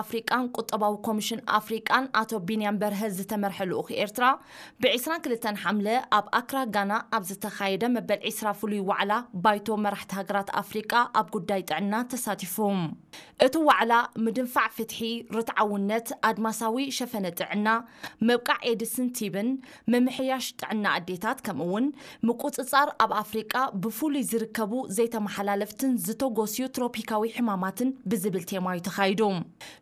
ኣፍሪቃን ቁጠባዊ ኮሚሽን ኣፍሪቃን ኣቶ ቢንያም በርሀ ዝተመርሐ ልኡኽ ኤርትራ፣ ብ22 ሓምለ ኣብ ኣክራ ጋና ኣብ ዝተኻየደ መበል 20 ፍሉይ ዋዕላ ባይቶ መራሕቲ ሃገራት ኣፍሪቃ ኣብ ጉዳይ ጥዕና ተሳቲፉ። እቲ ዋዕላ ምድንፋዕ ፍትሒ፣ ርትዓውነት፣ ኣድማሳዊ ሸፈነ ጥዕና፣ ምብቃዕ ኤድስን ቲብን፣ ምምሕያሽ ጥዕና ኣዴታት፣ ከምኡውን ምቁጽጻር ኣብ ኣፍሪቃ ብፍሉይ ዝርከቡ ዘይተመሓላለፍትን ዝተጎስዩ ትሮፒካዊ ሕማማትን ብዝብል ቴማ እዩ ተኻይዱ።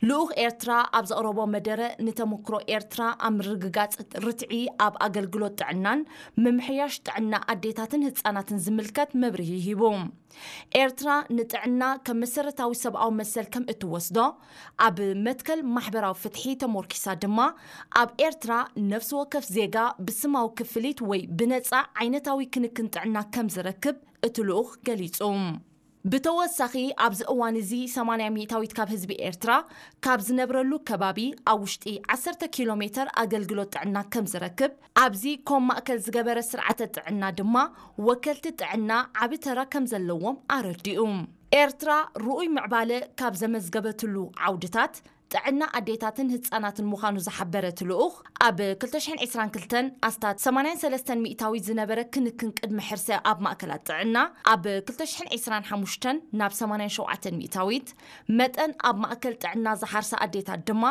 ልኡኽ ኤርትራ ኣብ ዘቕረቦ መደረ፣ ንተመክሮ ኤርትራ ኣብ ምርግጋጽ ርትዒ ኣብ ኣገልግሎት ጥዕናን ምምሕያሽ ጥዕና ኣዴታትን ህጻናትን ዝምልከት መብርሂ ሂቡ። ኤርትራ ንጥዕና ከም መሰረታዊ ሰብኣዊ መሰል ከም እትወስዶ፣ ኣብ መትከል ማሕበራዊ ፍትሒ ተሞርኪሳ ድማ፣ ኣብ ኤርትራ ነፍሲ ወከፍ ዜጋ ብስማዊ ክፍሊት ወይ ብነጻ ዓይነታዊ ክንክን ጥዕና ከም ዝረክብ እቲ ልኡኽ ገሊጹ። ብተወሳኺ፣ ኣብዚ እዋን እዚ 80% ካብ ህዝቢ ኤርትራ ካብ ዝነብረሉ ከባቢ ኣብ ውሽጢ 10 ኪሎ ሜተር ኣገልግሎት ጥዕና ከም ዝረክብ፣ ኣብዚ ኮም ማእከል ዝገበረ ስርዓተ ጥዕና ድማ ወከልቲ ጥዕና ዓቢ ተራ ከም ዘለዎም ኣረዲኡ። ኤርትራ ርኡይ ምዕባለ ካብ ዘመዝገበትሉ ዓውድታት ጥዕና ኣዴታትን ህጻናትን ምዃኑ ዝሓበረ እቲ ልኡኽ፣ ኣብ 2022 ኣስታት 83% ዝነበረ ክንክን ቅድመ ሕርሰ ኣብ ማእከላት ጥዕና፣ ኣብ 2025 ናብ 87%፣ መጠን ኣብ ማእከል ጥዕና ዝሓርሳ ኣዴታት ድማ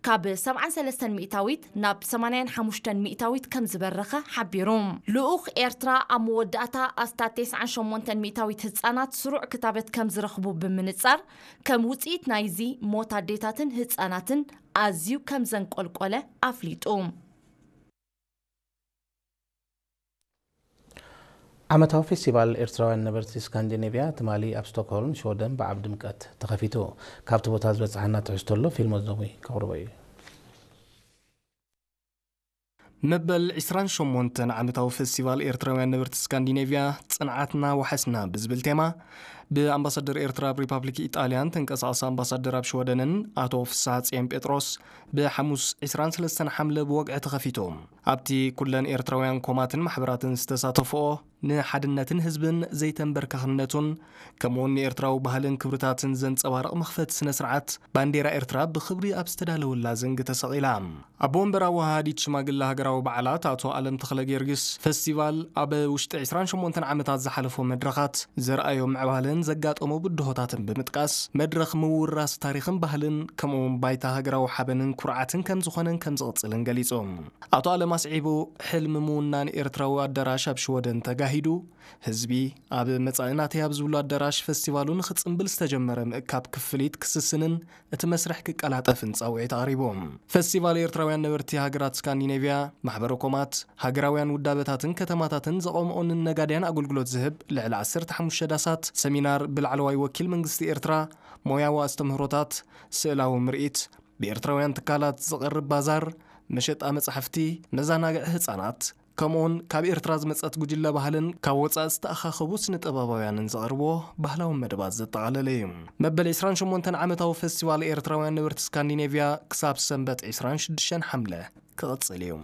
ካብ 73% ናብ 85% ከም ዝበረኸ ሓቢሩ። ልኡኽ ኤርትራ ኣብ መወዳእታ ኣስታት 98% ህጻናት ስሩዕ ክታበት ከም ዝረኽቡ ብምንጻር፣ ከም ውጽኢት ናይዚ ሞት ኣዴታትን ህጻናትን ኣዝዩ ከም ዘንቆልቆለ ኣፍሊጡ። ዓመታዊ ፌስቲቫል ኤርትራውያን ነበርቲ ስካንዲኔቭያ ትማሊ ኣብ ስቶክሆልም፣ ሽወደን ብዓብ ድምቀት ተኸፊቱ። ካብቲ ቦታ ዝበጽሓና ትሕዝቶ ኣሎ፣ ፊልሞን ዘሙይ ከቕርቦ እዩ። መበል 28 ዓመታዊ ፌስቲቫል ኤርትራውያን ነበርቲ ስካንዲኔቭያ፣ ጽንዓትና ዋሕስና ብዝብል ቴማ፣ ብኣምባሳደር ኤርትራ ኣብ ሪፓብሊክ ኢጣልያን ተንቀሳቓሲ ኣምባሳደር ኣብ ሽወደንን ኣቶ ፍስሓጽዮን ጴጥሮስ፣ ብሓሙስ 23 ሓምለ ብወግዒ ተኸፊቱ። ኣብቲ ኩለን ኤርትራውያን ኮማትን ማሕበራትን ዝተሳተፍኦ፣ ንሓድነትን ህዝብን ዘይተንበርካኽነቱን፣ ከምኡውን ንኤርትራዊ ባህልን ክብርታትን ዘንጸባርቕ መኽፈቲ ስነ ስርዓት፣ ባንዴራ ኤርትራ ብኽብሪ ኣብ ዝተዳለወላ ዘንጊ ተሰቒላ። ኣቦ ወንበር ኣወሃሃዲት ሽማግለ ሃገራዊ በዓላት ኣቶ ኣለም ተኽለ ጊዮርጊስ፣ ፈስቲቫል ኣብ ውሽጢ 28 ዓመታት ዝሓለፎ መድረኻት ዘርኣዮ ምዕባለን ዘጋጠሞ ብድሆታትን ብምጥቃስ፣ መድረኽ ምውራስ ታሪኽን ባህልን፣ ከምኡውን ባይታ ሃገራዊ ሓበንን ኩርዓትን ከም ዝኾነን ከም ዝቕጽልን ገሊጹ። ኣቶ ኣለም ኣስዒቡ፣ ሕልሚ ምውናን ኤርትራዊ ኣዳራሽ ኣብ ሽወደን ተጋሂዱ፣ ህዝቢ ኣብ መጻኢ ናተይ ኣብ ዝብሉ ኣዳራሽ ፈስቲቫሉ ንኽጽምብል ዝተጀመረ ምእካብ ክፍሊት ክስስንን እቲ መስርሕ ክቀላጠፍን ጻውዒት ኣቕሪቡ። ፈስቲቫል ኤርትራውያን ነበርቲ ሃገራት ስካንዲኔቭያ፣ ማሕበረ ኮማት፣ ሃገራውያን ውዳበታትን ከተማታትን ዘቐምኦንን ነጋድያን ኣገልግሎት ዝህብ ልዕሊ 15 ዳሳት፣ ሰሚናር ብላዕለዋይ ወኪል መንግስቲ ኤርትራ፣ ሞያዊ ኣስተምህሮታት፣ ስእላዊ ምርኢት፣ ብኤርትራውያን ትካላት ዝቐርብ ባዛር፣ መሸጣ መጻሕፍቲ፣ መዘናግዒ ህጻናት፣ ከምኡውን ካብ ኤርትራ ዝመጸት ጉጅለ ባህልን ካብ ወጻኢ ዝተኣኻኸቡ ስነ-ጥበባውያንን ዘቕርብዎ ባህላዊ መደባት ዘጠቓለለ እዩ። መበል 28 ዓመታዊ ፈስቲቫል ኤርትራውያን ነበርቲ ስካንዲኔቭያ ክሳብ ሰንበት 26 ሓምለ ክቕጽል እዩ።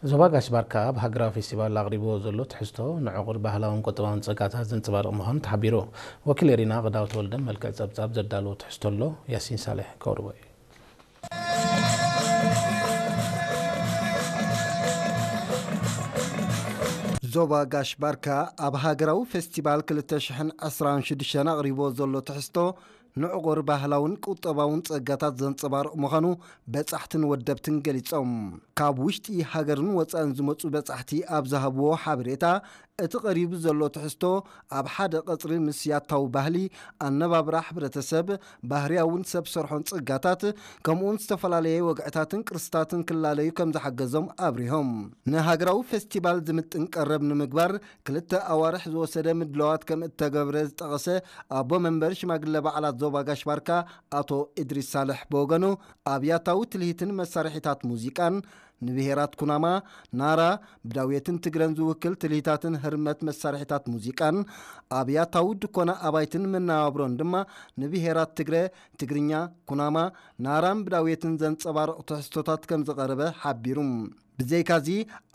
ዞባ ጋሽ ባርካ ኣብ ሃገራዊ ፌስቲቫል ኣቕሪብዎ ዘሎ ትሕዝቶ ንዕቑር ባህላውን ቁጠባውን ጸጋታት ዘንጸባርቕ ምዃኑ ተሓቢሩ። ወኪል ኤሪና ቅዳው ተወልደ መልክዕ ጸብጻብ ዘዳለዎ ትሕዝቶ ኣሎ፣ ያሲን ሳልሕ ከቕርቦ እዩ። ዞባ ጋሽ ባርካ ኣብ ሃገራዊ ፌስቲቫል 2026 ኣቕሪብዎ ዘሎ ትሕዝቶ ንዕቑር ባህላውን ቁጠባውን ጸጋታት ዘንጸባርቕ ምዃኑ በጻሕትን ወደብትን ገሊጾም። ካብ ውሽጢ ሃገርን ወጻእን ዝመጹ በጻሕቲ ኣብ ዝሃብዎ ሓበሬታ፣ እቲ ቀሪቡ ዘሎ ትሕዝቶ ኣብ ሓደ ቀጽሪ ምስ ያታዊ ባህሊ፣ ኣነባብራ ሕብረተሰብ፣ ባህርያውን ሰብ ሰርሖን ጸጋታት፣ ከምኡውን ዝተፈላለየ ወግዕታትን ቅርስታትን ክላለዩ ከም ዝሓገዞም ኣብሪሆም። ንሃገራዊ ፌስቲቫል ዝምጥን ቀረብ ንምግባር ክልተ ኣዋርሕ ዝወሰደ ምድላዋት ከም እተገብረ ዝጠቐሰ ኣቦ መንበር ሽማግለ በዓላት ዞባ ጋሽ ባርካ ኣቶ እድሪስ ሳልሕ ብወገኑ፣ ኣብያታዊ ትልሂትን መሳርሒታት ሙዚቃን ንብሄራት ኩናማ፣ ናራ፣ ብዳውየትን ትግረን ዝውክል ትልሂታትን ህርመት መሳርሒታት ሙዚቃን ኣብያታዊ ድኮና ኣባይትን መነባብሮን ድማ ንብሄራት ትግረ፣ ትግርኛ፣ ኩናማ፣ ናራን ብዳውየትን ዘንጸባርቕ ትሕዝቶታት ከም ዝቐረበ ሓቢሩ። ብዘይካዚ፣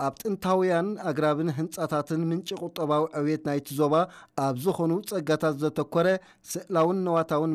ኣብ ጥንታውያን ኣግራብን ህንጻታትን ምንጪ ቁጠባዊ ዕብየት ናይቲ ዞባ ኣብ ዝኾኑ ጸጋታት ዘተኮረ ስእላውን ነዋታውን